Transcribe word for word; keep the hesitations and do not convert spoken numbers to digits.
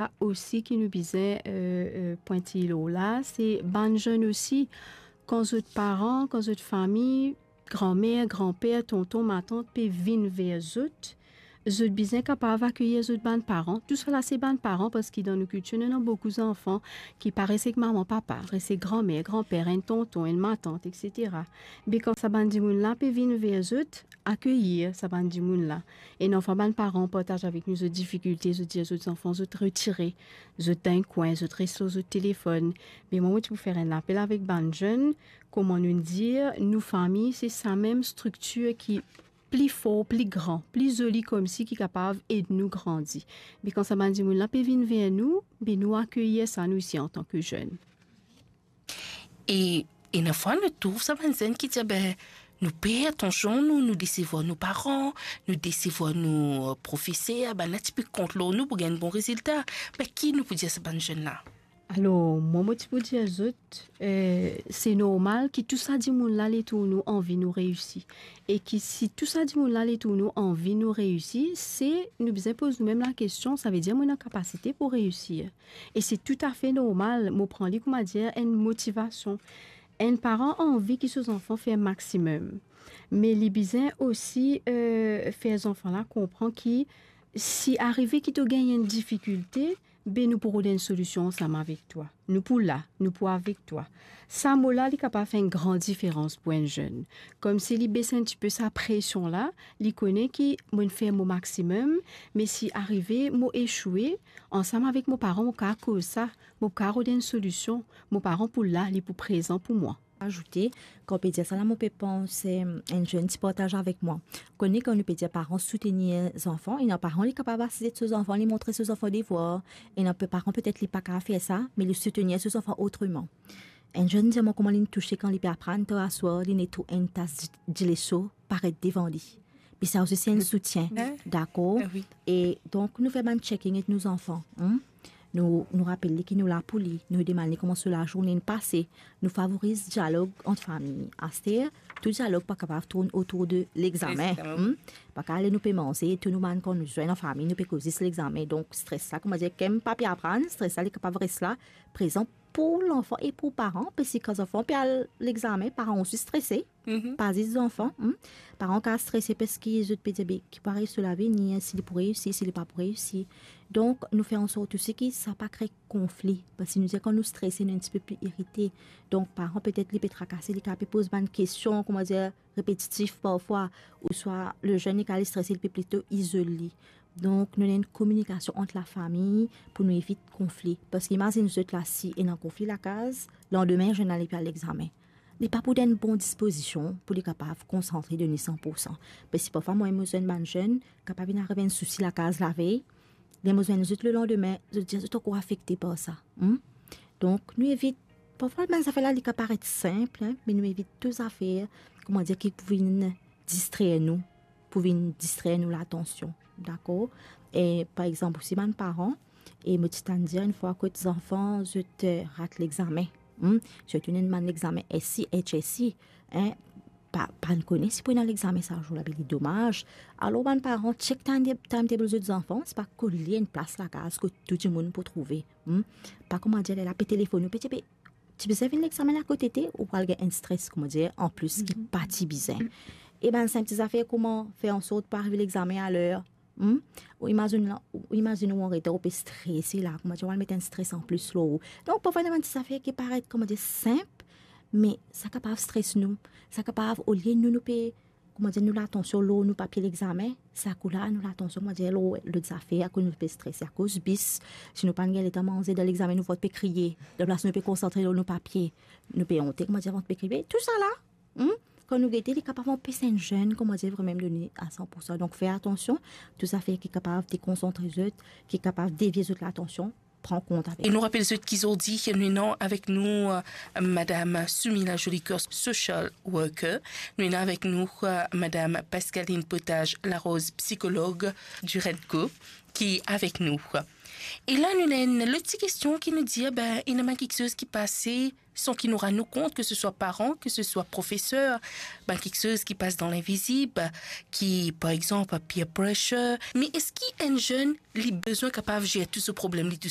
la osi ki nou bizin, euh, euh, pwintiy lor la, se bann zenn osi, kan zot paran, kan zot fami, granmer, granper, tonton, matant pe vinn ver zot, zot bizin kapav akeyir zot bann paran. Tousala se bann paran, parski dan nou kiltir, nou ena boukou zanfan ki pa res ek mama, papa, res ek granmer, granper, enn tonton, enn matant, et cetera. Be kan sa bann dimoun la pe vinn ver zot, akeyir sa bann dimoun la. Ena fwa bann paran partaz avek nou zot difikilte, zot dir zot zanfan zot retire, zot dan enn kwin, zot res lor zot telefonn. Me mwa, mo ti pou fer enn lapel avek bann zenn, kouma nou dir, nou fami, se samem striktir ki pli for, pli gran, pli zoli koumsi, ki kapav ed nou grandi. Me kan sa bann dimoun la pe vinn ver nou, be nou akeyir sa, nou osi, antan ki zenn. E ena fwa nou trouv sa bann zenn ki dir, be, nou per, atansion, nou, nou desevwar nou paran, nou desevwar nou, euh, profeser, bann la ti pe kont lor nou pou gagn bon rezilta. Be, ki nou pou dir sa bann zenn la? Alor, mwa, mo ti pou dir zot, euh, se normal ki tou sa dimoun la letour nou anvi nou reisi. E ki si tou sa dimoun la letour nou anvi nou reisi, se nou bizin poz noumem lakestion, savedir mo ena kapasite pou reisir? E se toutafe normal, mo pran li, kouma dir, enn motivasion. Enn paran anvi ki so zanfan fer maximum, me li bizin osi, euh, fer zanfan la konpran ki si arive ki to gagn enn difikilte, be nou pou rod enn solision ansam avek twa. Nou pou la, nou pou avek twa. Sa mo la, li kapav fer enn gran diferans pou enn zenn. Koumsi li bes enn tipe sa presion la, li kone ki mo inn fer mo maximum, me si arive mo esoue, ansam avek mo paran, mo kapav koz sa, mo kapav rod enn solision, mo paran pou la, li pou prezan pou mwa. Azoute, kan ou pe dir sa la, mo pe panse, enn zenn ti partaz avek mwa. Kone kan nou pe dir paran soutenir zanfan, ena paran li kapav asize so zanfan, li montre so zanfan devwar, ena pe-, paran petet li pa kapav fer sa, me li soutenir so zanfan otreman. Enn zenn dir mwa kouma li touse kan li pe aprann, tar aswar, li ena trouv enn tas di-, dileso paret devan li. Be sa osi se enn soutien, dakor? Ah wi. E donk, nou fer bann checking ek nou zanfan, hmm? Nou, nou rapel li ki nou la pou li, nou demann li kouma so lazourne inn pase, nou favoriz dialog ant fami. Aster, tou dialog pa kapav tourn otour de legzamen, hmm? Pa kapav ale nou pe manze, tou nou bann kan nou zwenn an fami, nou pe koz zis legzamen. Donk, stres la, kouma dir, kan pa pe aprann, stres la, li kapav res la, prezan pou lanfan e pou paran, parski kan zanfan pe al legzamen, paran osi strese, pa zis zanfan, hmm? Paran kapav strese parski zot pe dir, be, ki pou ariv so lavenir, si li pou reisi, si li pa pou reisi. Donk, nou fer ansort osi ki sa pa kre konfli, parski nou dir kan nou strese, nou enn tipe pli irite. Donk, paran petet li pe trakase, li kapav pe poz bann kestion, kouma dir, repetitif parfwa, ouswa lezenn li kapav strese, li pe plito izol li. Donk, nou ena enn kominikasion ant lafami pou nou evit konfli. Parski imazinn zot la, si ena konfli lakaz, landime zenn la li pe al legzamen, li pa pou dan enn bon dispozision pou li kapav konsantre, donn li san poursan. Parski parfwa mwa, mo zwenn bann zenn, kapav inn ariv enn sousi lakaz lavey, ler mo zwenn zot lelandime, zot dir zot ankor afekte par sa. Hmm? Donk, nou evit, parfwa bann zafer la, li kapav paret sinp, hein, me nou evit tou zafer, kouma dir, ki pou vinn distrer nou, pou vinn distrer nou latansion, dakor? E, par exanp, osi bann paran, e mo ti tann dir enn fwa kot zanfan, zot, eh, rat legzamen. Hmm? Sirtou ena bann legzamen S C, H S C, hein, pa, pa nou kone si pou ena legzamen sa zour la, be li domaz. Alor, bann paran, check time, timetable zot zanfan, se pa kol li enn plas lakaz kot tou dimoun pou trouve. Hmm? Pa kouma dir, ler la pe telefonn ou, pe ti pe, ti bizin vinn legzamen la kot tete, ou pral gagn enn stres, kouma dir, anplis ki pa ti bizin. E bann sinp ti zafer, kouma fer ansort pou ariv legzamen aler. Hmm? Ou imazinn la, ou imazinn ou anretar, ou pe strese la, kouma dir, ou al met enn stres anplis lor ou. Donk, parfwa, ena bann ti zafer ki paret, kouma dir, sinp, me sa kapav stres nou. Sa kapav, olie nou, nou pe, kouma dir, nou latansion lor nou papie legzamen, sa kou la, nou latansion, kouma dir, lor lot zafer, akoz nou pe strese akoz bis. Si nou pa'nn gagn letan manze dan legzamen, nou vant pe kriye. Dan plas nou pe konsantre lor nou papie, nou pe onte, kouma dir, vant pe kriye. Tousala, hmm? Kan nou gete, li kapav anpes enn zenn, kouma dir, vremem donn li a san poursan. Donk, fer atansion, tou zafer ki kapav dekonsantre zot, ki kapav devie zot latansion, pran kont avek. E nou rapel zot ki zordi nou ena avek nou, eh, Madam Soumila Jolicoeur, social worker. Nou ena avek nou, eh, Madam Pascaline Potage Larose, psychologue du REDCO, ki avek nou. E la, nou ena enn lot ti kestion ki nou dir, be, ena bann kiksoz ki pase san ki nou rann nou kont, ke se swa paran, ke se swa profeser, bann kiksoz ki pas dan linvizib, ki, par exanp, peer pressure. Me eski enn zenn, li bizin kapav zer tou so problem li tousel?